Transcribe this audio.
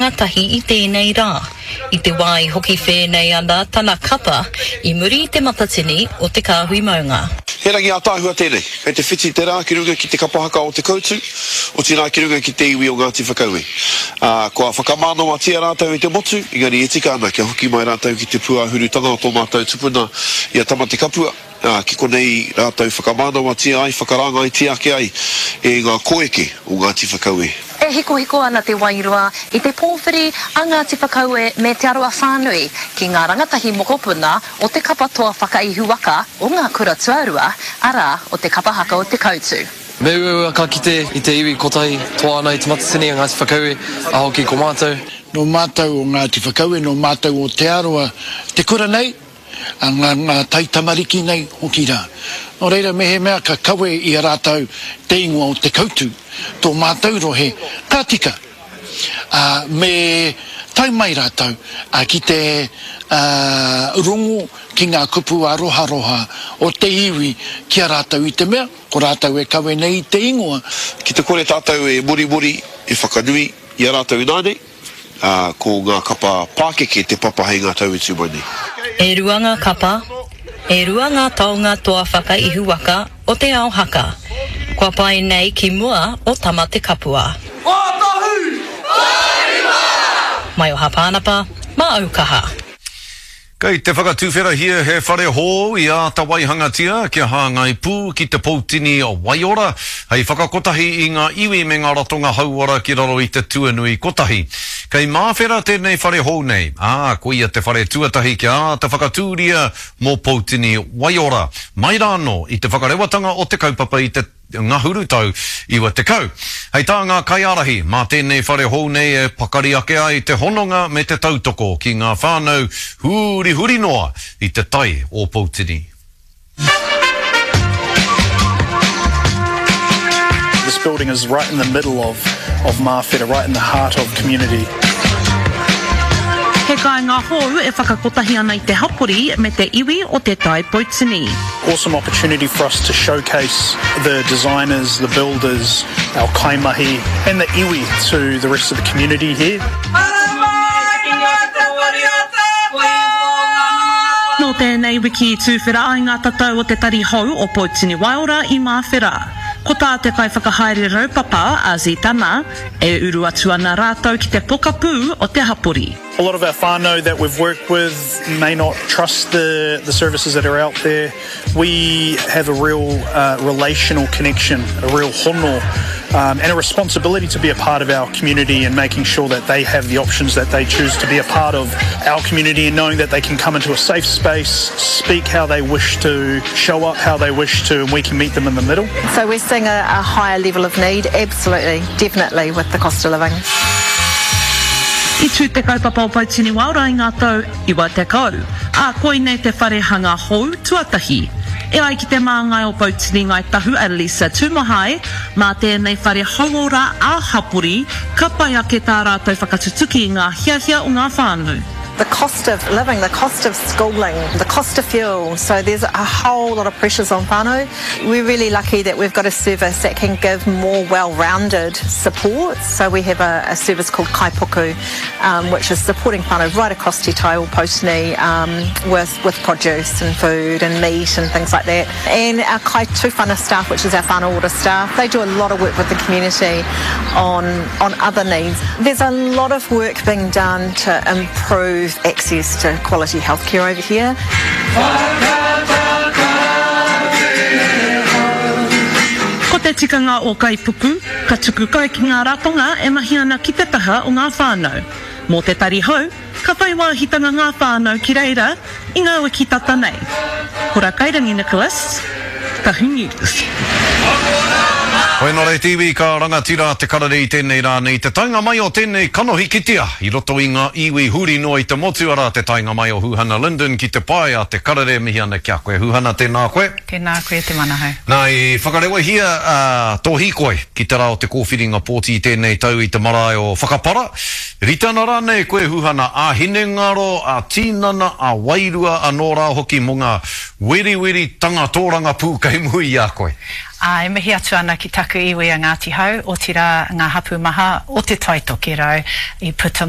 Ngatahi i tēnei rā, i te wā i hoki whēnei ana tana kapa i muri i te matatini o Te Kāhui Maunga. He rangi ātaahua tēnei. Kei te whiti te rā ki runga ki te kapa haka o Te Koutu, otirā ki runga ki te iwi o Ngāti Whakaue. Ā, kua whakamānawatia rātou e te motu, engari e tika ana kia hoki mai rātou ki te pūāhurutanga o tō mātou tupuna i a Tamatekapua. Ā, ki konei rātou whakamānawatia ai, whakarāngaitia ake ai e ngā koeke o Ngāti Whakaue. E hikohiko ana te wairua i te pōwhiri a Ngāti Whakaue me Te Arawa whānui ki ngā rangatahi mokopuna o te kapa toa whakaihu waka o ngā kura tuarua, arā, o te kapa haka o Te Koutu. Me uaua ka kite i te iwi kotahi toa ana i Te Matatini a Ngāti Whakaue, a hoki ko mātou. Nō mātou o Ngāti Whakaue, nō mātou o Te Arawa te kura nei, a ngā, ngā taitamariki nei hoki rā. Nō reira, mehemea ka kawe i a rātou te ingoa o Te Kautu, tō mātou rohe, ka tika, ā, me tae mai rātou ki te, ā, rongo ki ngā kupu aroharoha o te iwi ki a rātou i te mea, ko rātou e kawe nei i te ingoa. Ki te kore tātou e morimori, e whakanui i a rātou ināianei, ā, ko ngā kapa pākeke te papa hei ngā tau e tū mai nei. E rua ngā kapa, e rua ngā taonga toa whakaihu waka o te ao haka, kua pae nei ki mua o Tamatekapua. Maioha Pānapa, mā Aukaha. Kei te whakatuwherahia he whare hou i āta waihangatia kia hāngai pū ki te Poutini Waiora hei whakakotahi i ngā iwi me ngā ratonga hauora ki raro i te tuanui kotahi. Kei Māwhera tēnei whare hou nei, ā, koia te whare tuatahi kia āta whakatūria mō Poutini Waiora mai rānō i te whakarewatanga o te kaupapa i te ngahuru tau 90. Hei tā ngā kaiārahi, mā tēnei whare hou nei e pakari ake ai te hononga me te tautoko ki ngā whānau hurihuri noa i te tai o Poutini. This building is right in the middle of of Māwhera, right in the heart of community. He kāinga hou e whakakotahi ana i te hapori me te iwi o Te Tai Poutini. Awesome opportunity for us to showcase the designers, the builders, our kaimahi and the iwi to the rest of the community here. Nō tēnei wiki i tūwhera ai ngā tatau o te tari hou o Poutini Waiora i Māwhera. Ko tā te kaiwhakahaere raupapa, a Zitana, e uru atu ana rātou ki te pokapū o te hapori. A lot of our whānau that we've worked with may not trust the the services that are out there. We have a real uh, relational connection, a real hono, um, and a responsibility to be a part of our community and making sure that they have the options that they choose to be a part of our community and knowing that they can come into a safe space, speak how they wish to, show up how they wish to, and we can meet them in the middle. So we're seeing a, a higher level of need, absolutely, definitely, with the cost of living. I tū te kaupapa o Poutini Waora i ngā tau 90, ā, koinei te whare hanga hou tuatahi. E ai ki te māngai o Poutini Ngāi Tahu a Lisa Tumahai, mā tēnei whare hauora ā-hapori ka pai ake tā rātou whakatutuki i ngā hiahia o ngā whānau. The cost of living, the cost of schooling, the cost of fuel, so there's a whole lot of pressures on whānau. We're really lucky that we've got a service that can give more well-rounded support. So we have a, a service called Kaipuku, um, which is supporting whānau right across Te Tai o Poutini um, with, with produce and food and meat and things like that. And our Kai Tūwhana staff, which is our whānau order staff, they do a lot of work with the community on, on other needs. There's a lot of work being done to improve access to quality healthcare over here. Ko te tikanga o Kaipuku, ka tuku kai ki ngā ratonga e mahi ana ki te taha o ngā whānau. Mō te tari hou, ka whai wāhitanga ngā whānau ki reira i ngā wiki tata nei. Hora Kairangi Nicholas, Tahu News. Hoi nō reira te iwi ka rangatira te karere i tēnei rā nei te taenga mai o tēnei kanohi kitea i roto i ngā iwi huri noa i te motu arā te taenga mai o Huhana Lyndon ki te pae a te karere mihi ana ki a koe Huhana tēnā koe. Tēnā koe Te Manahau. Nā i whakarewahia tō hīkoi ki te rā o te kōwhiringa pōti i tēnei tau i te marae o Whakapara. Rite ana rānei koe Huhana ā-hinengaro, ā-tīnana, ā-wairua anō rā hoki mō ngā weriweritanga tōrangapū kei muri i a koe? Ā, e mihi atu ana ki taku iwi a Ngāti Hau, otirā ngā hapū maha o Te Tai Tokerau i puta mai.